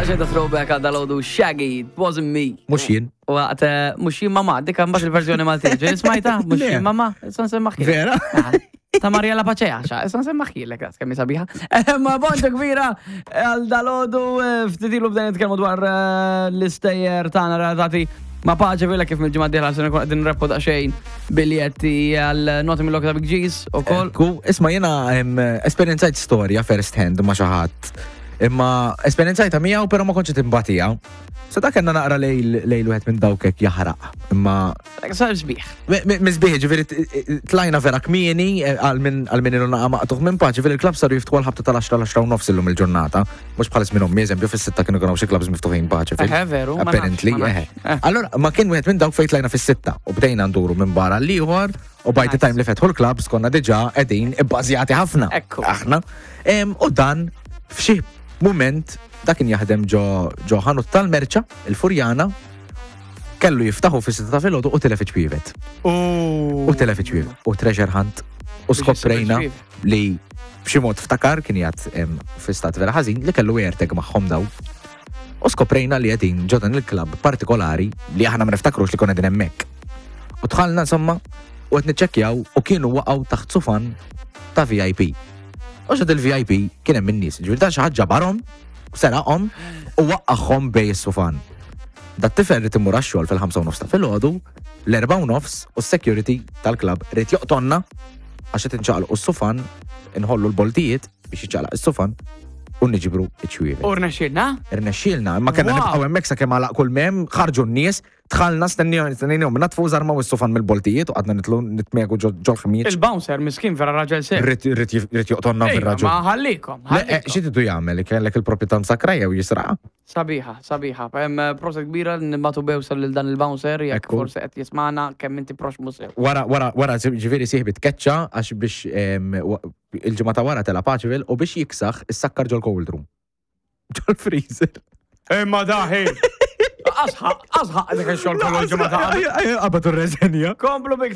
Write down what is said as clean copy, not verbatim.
Daqsxejn ta' throwback għal dalodu Shaggy, it wasn't me. Mux jien. Waqt, eh, mux jien mama, dik mbagħad il-verżjoni Maltija. Ġej smajta, mux Le. jien mama, issa nsemmaħ Vera? Ta' Mariella Paċeja, xa, issa nsemmaħ dak kemm hi sabiħa. Eh, Ma bonġa kbira għal dalodu eh, ftit ilu bdejna nitkellmu dwar eh, l-istejjer tagħna relatati ma' Paċe Villa kif mill-ġimgħa d-dieħla se nkun qegħdin nrebħu daqsxejn biljetti għal noti mill-Lokta Big G's ukoll. Ku, isma jena em, esperjenzajt storja first hand ma xi ħadd. Imma esperjenzajta miegħu però ma kontx qed imbatija. Sa dak kellna naqra lejl lejl wieħed minn dawk hekk jaħraq. Imma Sar sbieħ. Misbieħ, ġifieri tlajna vera kmieni eh, għal min għal min ilu naqa' maqtuħ minn paċi, ġifieri il-klab saru jiftħu għal ħabta tal-10 l-10 u nofs illum il-ġurnata. Mhux bħal żmien ommi, eżempju, fis-sitta kienu kienu xi klabs miftuħin paċi. Eħe, veru, ma nafx, Apparently, ma nafx. eħe. Eh. Allora, ma kien wieħed minn dawk fejn tlajna fis-sitta u bdejna nduru minn barra l-ieħor u by the Nice. time li fetħu l-klabs konna diġà qegħdin ibbażjati ħafna. Ekku. Aħna. Em, U dan f'xi mument dak kien jaħdem ġo ġo ħanut tal-merċa, il-Furjana, kellu jiftaħu fis-sitta ta' filgħodu u tilef iċ-ċwievet. U tilef iċ-ċwievet. U treasure hunt. U Biex skoprejna isib iċ-ċwievet. li b'xi mod ftakar kien jgħat em, fi stat vera ħażin li kellu AirTag magħhom daw. U skoprejna li qegħdin ġo dan il-klabb partikolari li aħna ma niftakrux li konna qegħdin hemmhekk. U dħalna insomma u qed niċċekkjaw u kienu waqgħu taħt sufan ta' VIP. U xed il-VIP kien hemm in-nies, ġifieri dan xi ħadd ġabarhom, seraqhom u waqqagħhom bej is-sufan. Dat tifel rid imur għax-xogħol fil-5 u nofs ta' filgħodu, l-4 u nofs u s-security tal-klabb rid joqtonna għax qed inċaqalqu s-sufan, inħollu l-boltijiet biex jiċċaqlaq is-sufan u niġbru iċ-ċwievet. U rnexxielna? Irnexxielna, imma kellna Wow. nibqgħu hemmhekk sakemm għalaq kull mem, ħarġu n-nies, dħalna stennihom natfu żarmaw is-sufan mill-boltijiet u qgħadna nitlu nitmegu ġol ħmieġ. Il-bouncer miskin vera raġel sew. Rid joqtonna Ejja, fir-raġun. Ma ħallikom, Le, eh, ħallikom. Xi tidu jagħmel? Kellek il-proprjetà msakra jew jisraqa? Sabiħa, sabiħa. Hemm eh, proset kbira li nibatu bewsa lil dan il-bouncer jekk Ekku. forsi qed jismana kemm inti proxmu sew. Wara, wara, wara, ġifieri sieħbi tkeċċa għax biex em, wa- il-ġimgħa ta' wara tela Paċeville u biex jiksaħ issakkar ġol cold room. Ġol freezer. Imma daħi. Asħaq, asħaq dik ix-xogħol kollu l-ġimgħa ta' Qabad u reżenja. Komplu bik.